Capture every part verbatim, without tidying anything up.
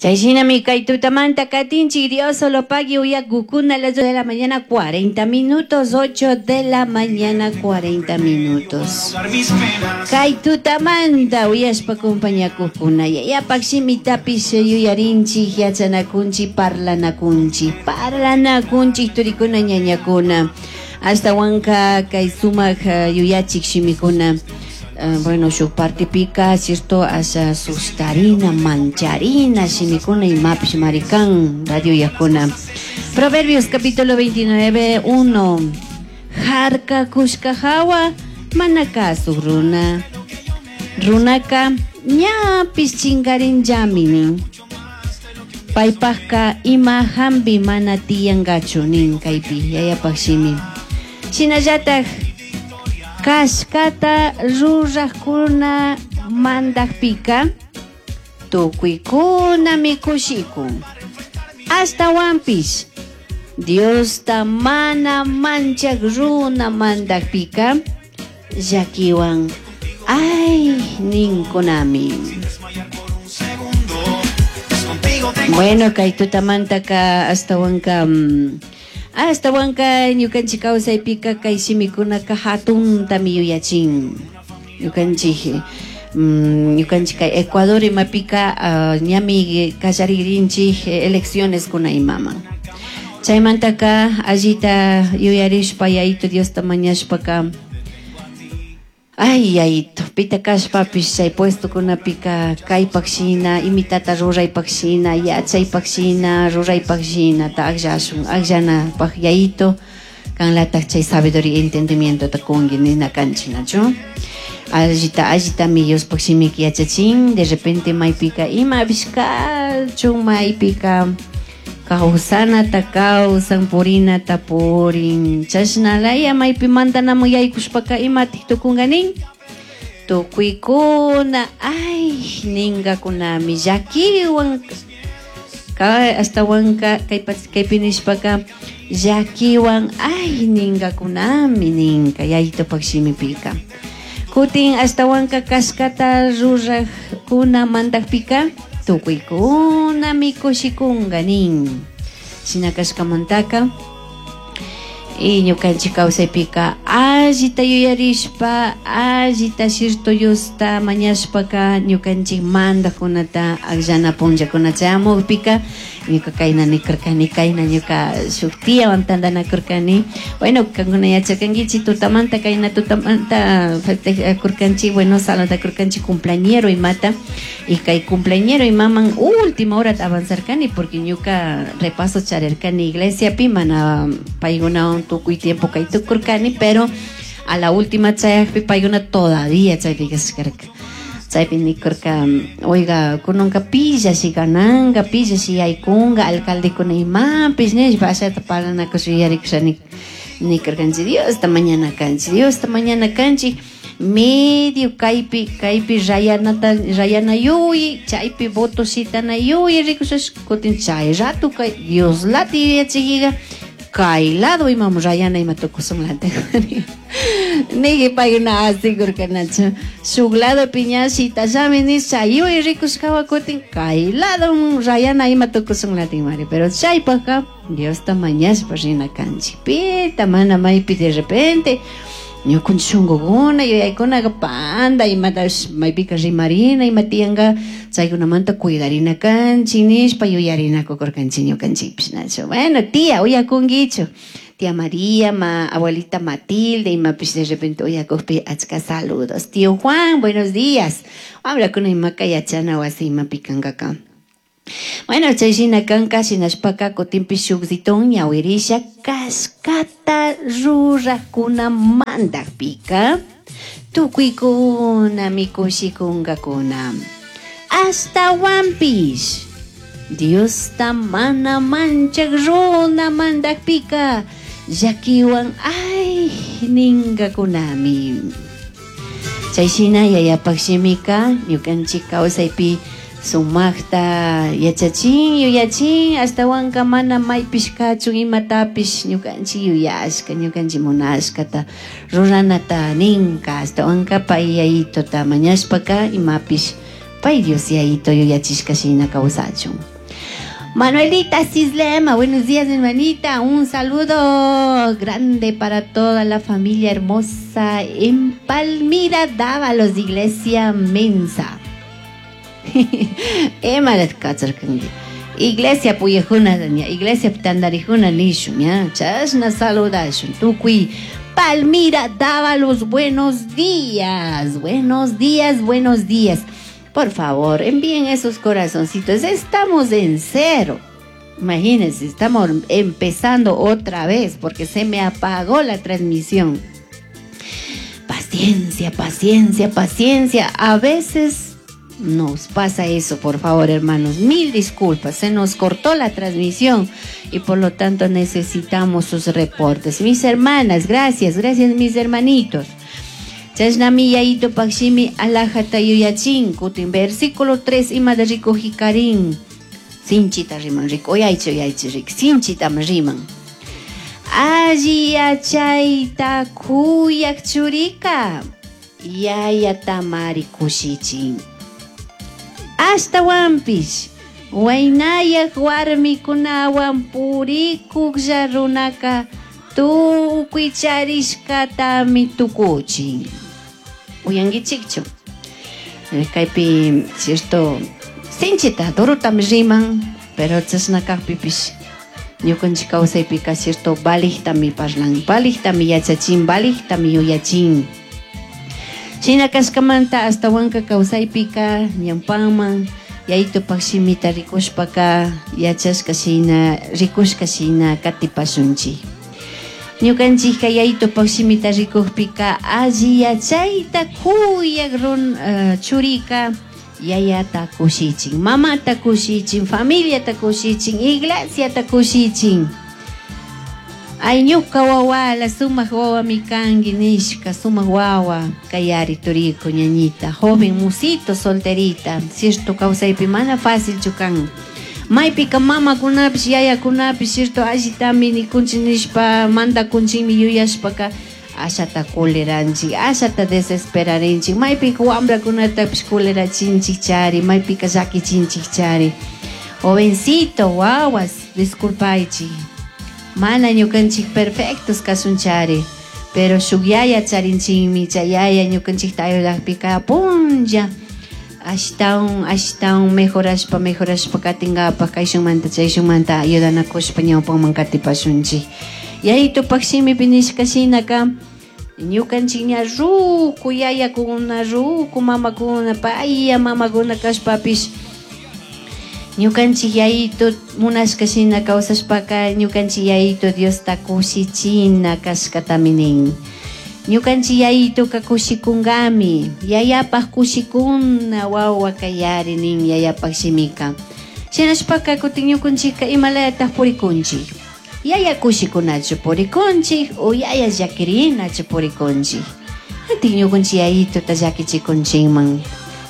Chayshinami kay tutamanta katinchik Dios solo pagui uyakukuna a las dos de la mañana cuarenta minutos, ocho de la mañana cuarenta minutos. Kay tutamanta uyashpa compañakukuna yayapak shimitapish yuyarinchik, yachanakunchik, parlanakunchik, parlanakunchik turikuna ñañakuna. Ashtawanka kay sumak yuyachik shimikuna. Uh, bueno, shuk partipika, cierto, asha sustarina, mancharina, shimikuna imapish marikan, radio yakuna. Proverbios capítulo veintinueve, uno. Harka kushka hawa, mana kasuk runa. Runaka, ñapis chingarin llaminin. Paypajka ima hambi mana tiyangachu nin kaypi, yayapak shimi. Shinallataj kashkata rurajkuna mandajpika tukuykunami kushikun. Ashtawanpish Diosta mana manchak runa mandajpika llakiwan ay ninkunami. Bueno, kay tutamantaka ashtawanka mm, ashtawanka ñukanchik kawsaypika kay shimikunaka hatuntami yuyachin. Ñukanchik mm, ñukanchik kay Ecuador imapika uh, ñami kallaririnchik elecciones kuna imaman. Chaymantaka allita yuyarishpa yayito Diosta mañashpaka ay yayito pita kashpapish chay puestokunapika kaypak shina imitata ruraypak shina yachaypak shina ruraypak shina ta akllashun akllanapaq yayito kanlataj chay sabiduría entendimiento ta kunki nina kanchik nachu allita allitami Diospaq shimiki yachachin de repente maypika imapish kachun maypika kawsanata kawsan purinata purin chashnalaya maypi mandanaman yaykushpaka imatik tukunka nin tukuykuna ay ninkakunami llakiwan ka ashtawanka kaypi nishpaka llakiwan ay ninkakunami ninka yayitupak shimipika kutin ashtawanka kashkata rurajkuna mandakpika tukuykunami kushikunka nin shina kashkamantaka y ñukanchik kawsaypika allita yuyarishpa allita shirtu Diosta mañashpaka ñukanchik mandajkunata akllana punllakuna chayamukpika ñuka kayna nikurkani kayna ñuka shuk tiawan tantanakurkani bueno kankuna yacharkankichik tutamanta kayna tutamanta festejakurkanchik bueno saludakurkanchik cumpleañero imata y kay cumpleañero imaman última hora avanzarkani porque ñuka repaso charirkani iglesiapi mana paykunawan tukuy tiempo kay tukurkani pero a la última chayakpi paykuna todavía chaypi kashkarka chaypi nikurka oiga kunanka pillashi gananka pillashi yaykunka alcaldekuna imapish nishpa ashata parlanakush yuyarikusha nikurkanchik Diosta mañana kanchik Diosta mañana kanchik medio kaypi kaypi rayanata rayana yuyi chaypi voto shitana yuyi rikushash kutin chay rato kay Dioslata yuyachikiga kay lado imam rayana ima tukusunlata niki paykuna asikurkanachu shuk lado piña shitashami nish chay yuyi rikushkawa kutin kay lado rayana ima tukusunlatin mari pero chaypaka Diosta mañashpa rina kanchik pita mana maypi de repente ñukanchik shunkukuna yuyaykunaka panda imatash maypika rimarina ima tiyanka chaykunamanta cuidarina kanchik nishpa yuyarinakukurkanchik ñukanchikpish nachu bueno tía uyakunkichu tía María ma abuelita Matilde imapish de repente uyakukpi achka saludos tío Juan buenos días wamrakuna imaka yachana wasi imapi kankaka bueno chay shina kanka shinashpaka kutinpish shukzitun ñawirisha kashkata rurakuna mandakpika tukuykunami kushikunkakuna ashtawanpish Diosta mana manchak runa mandakpika llakiwan ay ninkakunami chay shina yayapak shimika ñukanchik kawsaypi sumakta yachachin yuyachin ashtawanka mana maypish kachun imatapish ñukanchik yuyashka ñukanchik munashkata ruranata ninka ashtawanka pay yayituta mañashpaka imapish pay Dios yayito yuyachishka shina kawsachun. Manuelita Cislema, buenos días, hermanita. Un saludo grande para toda la familia hermosa en Palmira Dávalos, Iglesia Mensa. Iglesia puyajuna, iglesia tandarijuna nishun, ya, chashna saludashun, tukuy Palmira Dávalos, buenos días, buenos días, buenos días. Por favor, envíen esos corazoncitos. Estamos en cero. Imagínense, estamos empezando otra vez porque se me apagó la transmisión. Paciencia, paciencia, paciencia. A veces nos pasa eso, por favor, hermanos. Mil disculpas, se nos cortó la transmisión y por lo tanto necesitamos sus reportes. Mis hermanas, gracias, gracias mis hermanitos. Chashnami yayito pakshimi alajata yuyachin, kutin versículo tres ima de rikujikarin. Sinchita riman, rico, oyaichi, oyaichi, rik, sinchita riman. Alli yachayta kuyak churika, yayatamari kushichin. Ashtawanpish, waynayak warmikunawan purikuklla runaka, tukuy charishkatami tukuchin. Uyankichikchu. Kaypi, cierto, sinchita, durutami riman, pero chashna kajpipish ñukanchik kawsaypika, cierto, valijtami parlan, valijtami yachachin, valijtami yuyachin. Shina kashkamanta ashtawanka kawsaypika ñawpanman yayitupak shimita rikushpaka yachashka shina, rikushka shina katipashunchik. Ñukanchikka yayitupak shimita rikukpika alli yachayta kuyak run, uh, churika yayata kushichin, mamata kushichin, familiata kushichin, iglesiata kushichin. Ay ñuka wawala sumak wawami kanki nishka, sumak wawa kayari turiku ñañita, joven musito solterita, cierto kawsaypi mana fácilchu kan. Maypika mamakunapish yayakunapish cierto allitami nikunchik nishpa mandakunchikmi yuyashpaka ashata kuliranchik, ashata desesperarinchik, maypika wambrakunatapish kulerachinchik chari, maypika llakichinchik chari. Jovencito, wawas, disculpaychik, mana ñukanchik perfectos kasunchari, pero shuk yaya charinchikmi, chay yaya ñukanchikta ayudakpika punlla ashtawan, ashtawan mejorashpa, mejorashpa katinkapak kayshunmanta chayshunmanta ayudanakushpa ñawpanman katipashunchik. Yayitupak shimipi nishka shinaka ñukanchik ña ruku yayakuna, ruku mamakuna, paya mamakuna kashpapish ñukanchik yayitu munashka shina kawsashpaka ñukanchik yayitu Diosta kushichina kashkatami nin. Ñukanchik yayituka kushikunkami, yayapak kushikuna wawa kayari nin yayapak shimika. Shinashpaka kutin ñukanchikka imalayatak purikunchik. Yaya kushikunachu purikunchik o yaya llakirinachu purikunchik. Antik ñukanchik yayituta llakichikunchikman.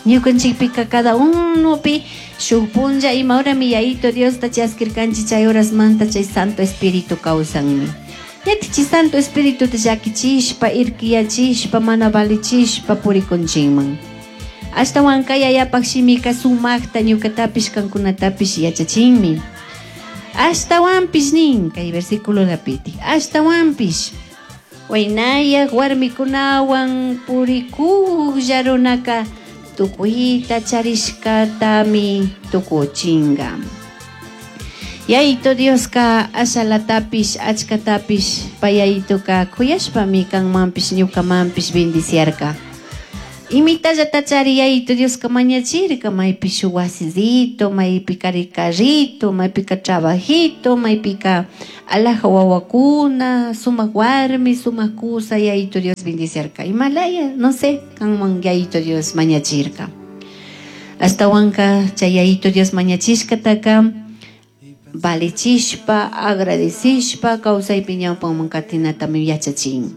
Ñukanchikpika cada unopi shuk punlla ima horami yayito Diosta chaskirkanchik chay horasmanta chay Santo Espíritu kawsanmi. Ñatichi Santo Espíritu llakichishpa, irkiyachishpa, mana valichishpa purikunchikman. Ashtawanka yayapak shimika sumakta ñukatapish kankunatapish yachachinmi. Ashtawanpish nin kay versículo lapiti. Ashtawanpish waynayak warmikunawan purikuklla runaka tukuyta charishkatami tukuchinga. Yayito Dioska ashalatapish achkatapish payayituka kuyashpami kanmanpish ñukamanpish bendiciarka. Imitallata chari yayito Dioska mañachirka maypi shuk wasisito, maypika carrito, maypika trabajito, maypika alaja wawakuna, sumak warmi, sumak kusa yayito Dios bendiciarka. Imalaya, no sé, kanman yayito Dios mañachirka. Ashtawanka chay yayito Dios mañachishkataka valichishpa, agradecishpa, kawsaypi ñawpanman katinatami yachachin.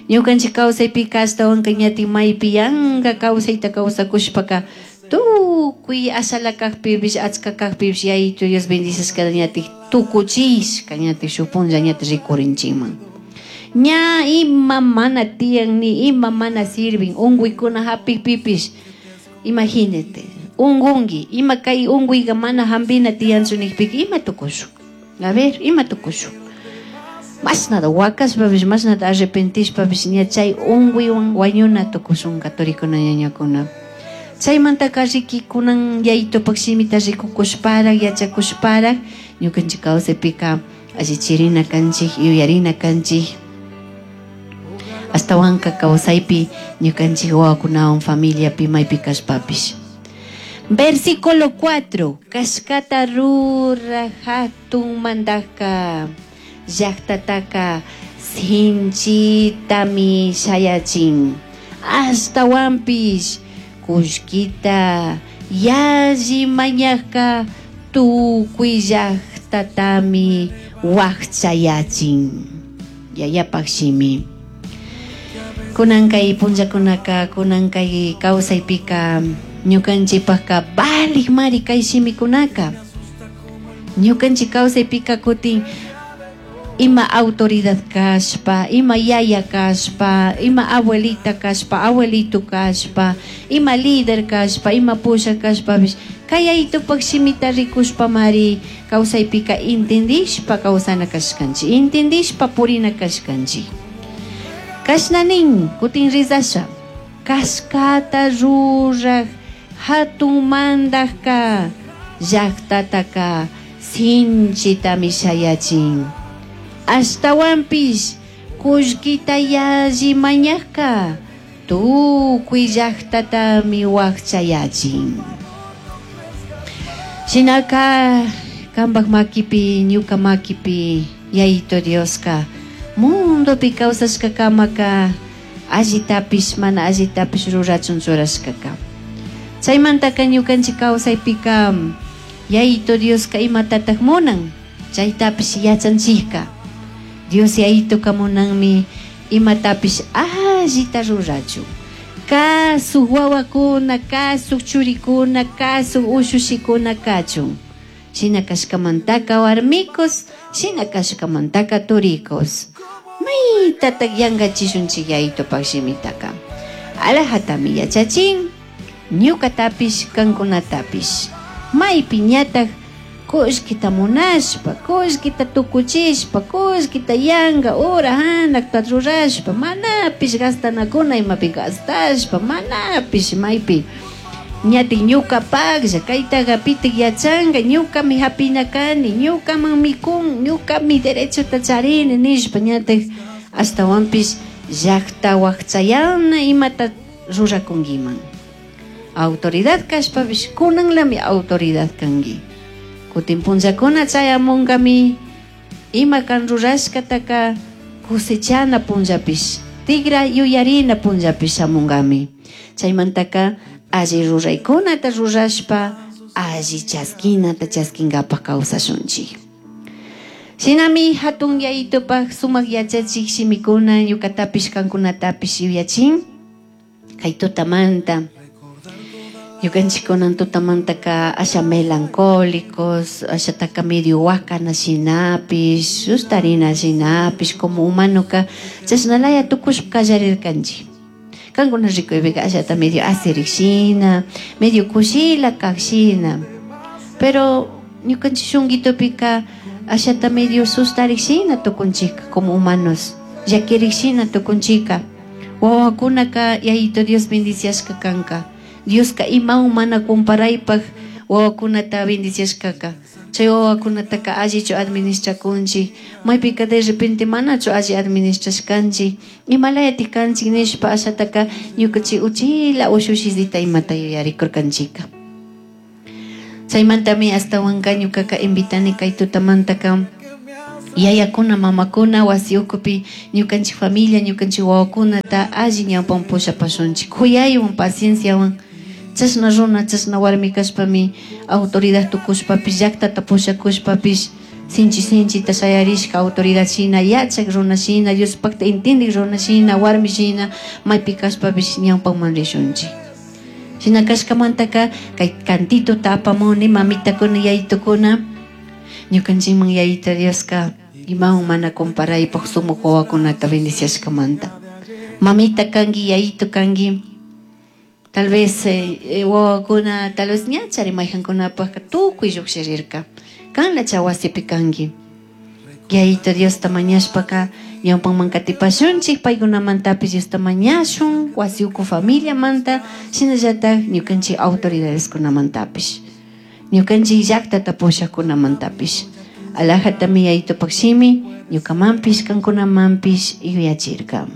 Ñukanchik kawsaypika ashtawanka ñatin maypi yanka kawsayta kawsakushpaka tukuy ashala kajpipish, achka kajpipish yayito Dios bendicishkata ñatik tukuchishka ñatik shuk punlla ñatik rikurinchikman. Ña ima mana tiyan ni ima mana sirvin unkuykuna hapikpipish, imagínate, Ungunki, ima kay unkuyka mana hampina tiyanchu nikpika ima tukushun? A ver, ima tukushun? Mashnata wakashpapish, mashnata arrepentishpapish ña chay unkuywan wañuna tukushunka turikuna ñañakuna. Chaymantaka riki kunan yayitupak shimita rikukushparak, yachakushparak, ñukanchik kawsaypika allichirina kanchik, yuyarina kanchik. Ashtawanka kawsaypi ñukanchik wawakunawan familiapi maypi kashpapish. Versículo cuatro. Kashkata ruraj hatun mandajka llaktataka sinchitami shayachin. Ashtawanpish kullkita yalli mañajka tukuy llaktatami wakchayachin. Yayapak shimi. Kunan kay punllakunaka, kunan kay kawsaypika ñukanchikpakka valik mari kay shimikunaka. Ñukanchik kawsaypika kutin ima autoridad kashpa, ima yaya kashpa, ima abuelita kashpa, abuelito kashpa, ima líder kashpa, ima pusha kashpapish kay yayitupak shimita rikushpa mari kawsaypika intindishpa kawsana kashkanchik, intindishpa purina kashkanchik. Kashna nin, kutin rizasha, kashkata ruraj hatun mandajka llaktataka sinchitami shayachin. Ashtawanpish kullkita yalli mañajka tukuy llaktatami wakchayachin. Shinaka kanpak makipi, ñuka makipi, Yayito Dioska mundopi kawsashkakamaka allitapish mana allitapish rurachun churashkaka. Chaymantaka ñukanchik kawsaypika Yayito Dioska imatatak munan, chaytapish yachanchikka. Dios Yayitoka munanmi imatapish allita rurachun. Kasuk wawakuna, kasuk churikuna, kasuk ushushikuna kachun. Shina kashkamantaka warmikos, shina kashkamantaka turikos. Maytatak yankachishunchik Yayitopak shimitaka. Alajatami yachachin, ñukatapish, kankunatapish. Maypi ñatak kullkita munashpa, kullkita tukuchishpa, kullkita yanka ura hanakta rurashpa, manapish gastanakuna imapi gastashpa, manapish maypi ñatik ñukapaklla, kaytaqa pitik yachanka, ñukami hapina kani, ñukaman mikun, ñukami derechota charini nishpa ñatik ashtawanpish llakta wakchayana imata rurakunkiman. Autoridad kashpapish kunanlami autoridad kanki. Kutin punllakuna chayamunkami ima kan rurashkataka cosechana punllapish, tigra yuyarina punllapish shamunkami. Chaymantaka alli ruraykunata rurashpa, alli chaskinata chaskinkapak kawsashunchik. Shinami hatun yayitupak sumak yachachik shimikuna ñukatapish kankunatapish yuyachin. Kay tutamanta ñukanchik kunan tutamantaka asha melancólicos, ashataka medio wakana shinapish, sustarina shinapish, como humanoka chashnalaya tukushpa kallarirkanchik. Kankuna rikuypika ashata medio asirik shina, medio kushila kak shina. Pero ñukanchik shunkitupika ashata medio sustarik shina tukunchika como humanos, llakirik shina tukunchika. Wawakunaka Yayito Dios bendiciashka kanka. Dioska imawan mana comparaypaj wawakunata bendiciashkaka. Chay wawakunataka allichu administrakunchik, maypika de repente manachu alli administrashkanchik, imalayatik kanchik nishpa ashataka ñukanchik uchila ushushizita imata yuyarikurkanchika. Chaymantami ashtawanka ñukaka invitani kay tutamantaka yayakuna mamakuna wasi ukupi ñukanchik familia, ñukanchik wawakunata alli ñawpan pushapashunchik, kuyaywan, pacienciawan. Chashna runa, chashna warmi kashpami autoridad tukushpapish, llaktata pushakushpapish, sinchi sinchita shayarishka autoridad shina, yachak runa shina, Diospakta intindik runa shina, warmi shina, maypi kashpapish ñawpaman rishunchik. Shina kashkamantaka kay cantituta apamuni mamitakuna, yayitukuna, ñukanchikman Yayita Dioska imawan mana comparaypaj sumak wawakunata bendiciashkamanta. Mamita kanki, yayito kanki, Tal vez eh, wawakuna tal vez ñachari mayjankunapajka tukuy llujshirirka. Kanla wasipi kanki. Yayito Diosta mañashpaka ñawpanman katipashunchik paykunamantapish Diosta mañashun wasi uku familiamanta shinallatak ñukanchik autoridadeskunamantapish ñukanchik llaqtata pushaqkunamantapish alajatami Yayitopak shimi ñukamanpish kankunamanpish yuyachirka.